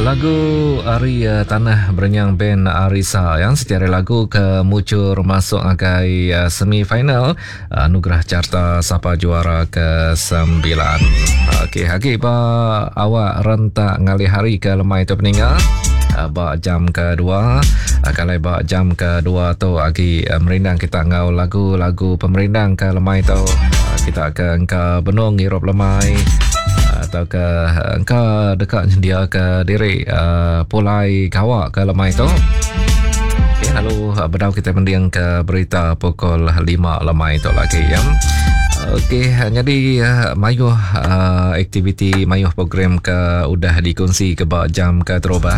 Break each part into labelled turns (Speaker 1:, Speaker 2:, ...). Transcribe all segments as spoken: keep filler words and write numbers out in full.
Speaker 1: Lagu ari uh, Tanah Berenyang Band Arisa yang secara lagu ke mucur masuk agai uh, semi final uh, Anugerah Carta Sapa Juara ke sembilan. Okey, hagi ba awak rentak ngalih hari ke lemai tu peninga. Uh, ba jam kedua, uh, kalau ba jam kedua tu agi uh, merindang kita ngau lagu-lagu pemerindang ke lemai tu. Uh, kita ke engka benung ngirup lemai atau ke engka dekat dia ke diri uh, pulai gawak ke lemai tu. Okay, lalu uh, bedau kita mending ke berita pukul lima lemai tu lagi ya. Okey, jadi uh, mayuh uh, aktiviti mayuh program ke udah dikongsi ke ba jam ke terubah.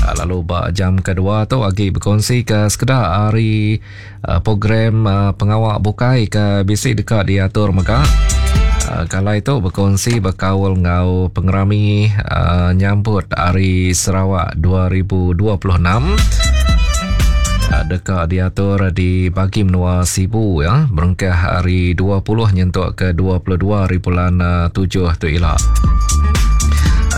Speaker 1: Uh, lalu ba jam kedua tu agi berkongsi ke sekedar hari uh, program uh, pengawak bukai ke bisi dekat diatur mega. Uh, kalau itu berkongsi berkaul ngau pengerami uh, nyambut Hari Sarawak dua ribu dua puluh enam. Uh, dekat diatur di bagi menua Sibu ya, berengkah hari dua puluh nyentuk ke dua puluh dua hari bulan uh, tujuh tu ila.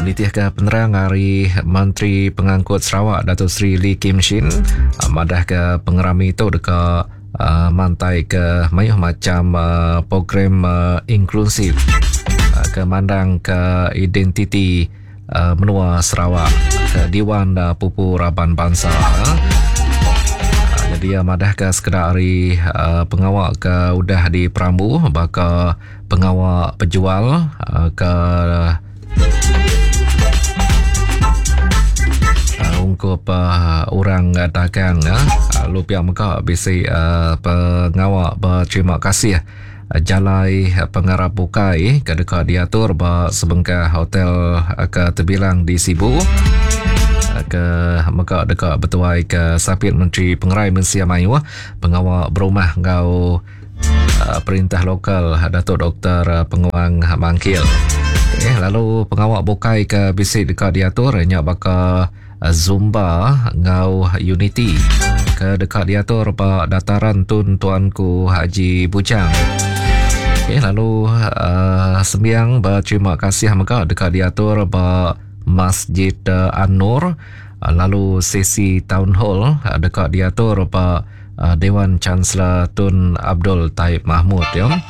Speaker 1: Nitih ke penerang hari Menteri Pengangkut Sarawak Datuk Seri Lee Kim Shin, uh, madah ke pengerami itu dekat Uh, mantai ke mayuh macam uh, program uh, inklusif uh, ke mandang ke identiti uh, menua Sarawak ke Dewan uh, Pupu Raban Bangsa. Uh, jadi uh, madah ke sekedar hari uh, pengawak ke udah di Perambu baka pengawak pejual uh, ke uh, ungkup uh, orang uh, dagang ya. Lalu pihak mega bisi uh, pengawak berterima kasih uh, jalai uh, pengarap bukai ke dekat diatur ba sebengkah hotel uh, ke terbilang di Sibu. Uh, ke mega dekat bertuai ke Sapit Menteri Pengerai Mensia Mayuh pengawak berumah ngau uh, perintah lokal Datuk Doktor Penguang Mangkil. Okay, lalu pengawak bukai ke bisi dekat diatur nya baka Zumba ngau Unity ke dekat diatur ba dataran Tun Tuanku Haji Bujang. Okey, lalu uh, sembiang berterima kasih mega dekat diatur ba Masjid uh, An-Nur, uh, lalu sesi town hall uh, dekat diatur ba uh, Dewan Chancellor Tun Abdul Taib Mahmud ya.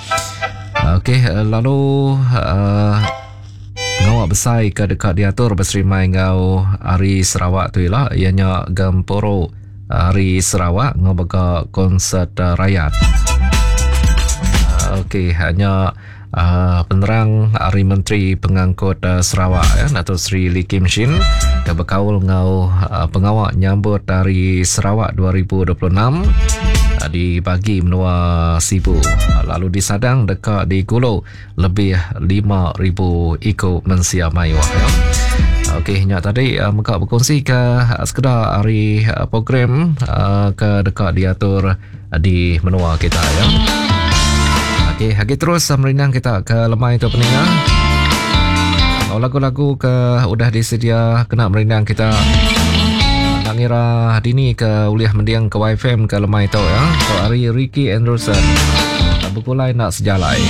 Speaker 1: Okey, uh, lalu uh, pengawak besar ke dekat diatur berserimai ngau Hari Sarawak tu ialah ianya Gemporo Hari Sarawak ngau bega konsert uh, rakyat. Uh, Okey, hanya uh, penerang Hari Menteri Pengangkut uh, Sarawak ya, Datuk Seri Lee Kim Shin ke berkaul ngau uh, pengawak nyambut Hari Sarawak dua ribu dua puluh enam uh, di bagi menua Sibu. Uh, lalu disadang dekat di Gulu lebih lima ribu ikut mensia mayuh ya. Okey, nyak tadi uh, meka berkongsi ke uh, sekedar hari uh, program uh, ke dekat diatur uh, di menua kita ya. Okey, hagi terus uh, merindang kita ke lemai tu peninga. Oh, lagu-lagu ke udah disedia kena merindang kita. Nak ngira dini ke uliah mendiang ke Y F M ke lemai tu ya. So hari Ricky Anderson berkulai nak sejalai.